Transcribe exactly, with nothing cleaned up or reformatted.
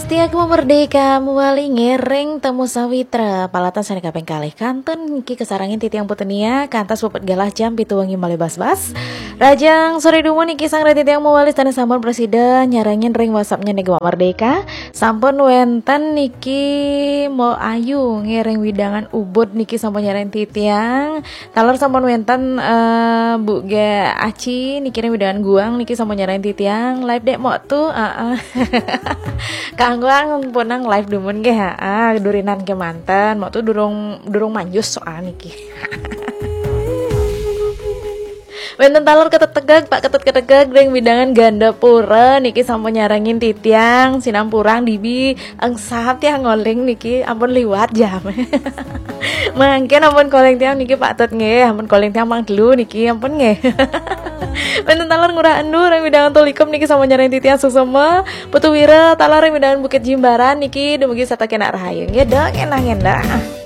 Tiang Merdeka muali ngiring Temu Sawitra, palatan sané kaping kalih. Kantun niki kasarengin titiang Putunia, kantos pepet galah jam pitu wengi malih bas-bas. Rahajeng soré dumun niki sareng titiang muali sané sampun prasida nyarengin ring WhatsApp-nya niki Merdeka. Sampun wénten niki Mo Ayu ngiring wewidangan Ubud niki sampun nyarengin titiang. Taler sampun wénten, eh, Bu Ge Aci niki ring wewidangan Guang niki sampun nyarengin titiang. Live dék Mok Tu, heeh. Kang Guang punang live dumun nggih, heeh, durinan kémanten. Mok Tu durung, durung manjus soal niki. Wénten taler Ketut Tegeg, Pak Ketut Ketut Tegeg ring wewidangan Gandapura niki sampun nyarengin titiang, sinampurang dibi engsap tiang ngoling niki ampun liwat jam. Mangkin ampun calling tiang niki Pak Tut nggih, ampun calling tiang Mang Delu niki ampun nggih. Wénten taler Ngurah Endu ring wewidangan Tulikum niki sampun nyarengin titiang suksma. Putu Wira taler ring wewidangan Bukit Jimbaran niki dumugi setata kénak rahayu. Nggih, Dok, endah-endah.